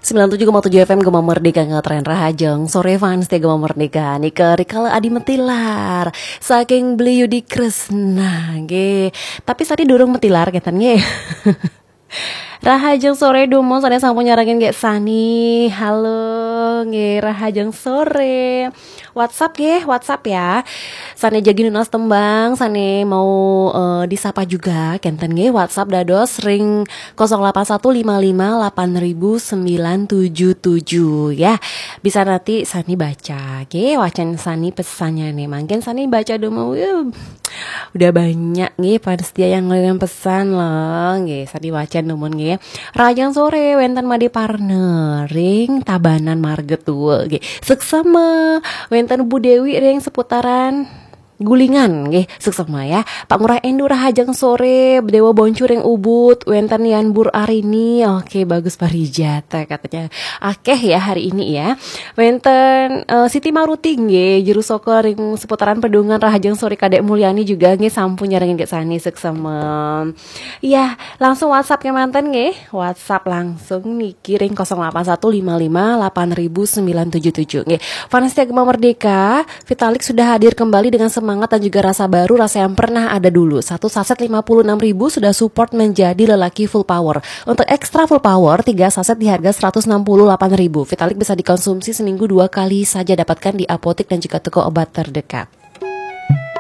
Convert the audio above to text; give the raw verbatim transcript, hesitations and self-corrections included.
Sembilan tujuh koma tujuh F M Gema Merdeka ngetren. Rahajeng sore fans setia Gema Merdeka. Nika Rikala Adi Metilar saking Beli Yudi Kresna nggih. Tapi sani durung metilar kenten nggih. Rahajeng sore dumun sane sampun nyarengin nggih sani. Halo nggih, rahajeng sore. WhatsApp nggih, WhatsApp ya. Sane jagi nunas tembang, sane mau eh, disapa juga kenten nggih, WhatsApp dados ring kosong delapan satu lima lima delapan ribu sembilan tujuh tujuh ya. Bisa nanti sani baca nggih, wacan sani pesannya nih. Mungkin sani baca dulu, wih, udah banyak nggih fans setia yang ngirim pesan loh nggih. Sani wacan dumun nggih. Rahajeng sore wenten Made Parne ring Tabanan Marga Tua nggih. Suksema wenten Bu Dewi ring seputaran Gulingan nggih, suksema ya. Pak Ngurah Endu, rahajeng sore, Dewa Boncu ring Ubud, wenten Yan Bur Arini. Oke, bagus parijata katanya. Akeh ya hari ini ya. Wenten eh, Siti Maruti nggih, Juru Soko ring seputaran Pedungan, rahajeng sore. Kadek Mulyani juga nggih sampun nyarengin nggih sani, suksema. Iya, langsung WhatsApp kemanten nggih. WhatsApp langsung niki ring kosong delapan satu lima lima delapan ribu sembilan tujuh tujuh nggih. Fans setia Gema Merdeka, Vitalik sudah hadir kembali dengan semangat dan juga rasa baru, rasa yang pernah ada dulu. Satu saset lima puluh enam ribu sudah support menjadi lelaki full power. Untuk extra full power, tiga saset di harga seratus enam puluh delapan ribu. Vitalik bisa dikonsumsi seminggu dua kali saja, dapatkan di apotek dan juga toko obat terdekat.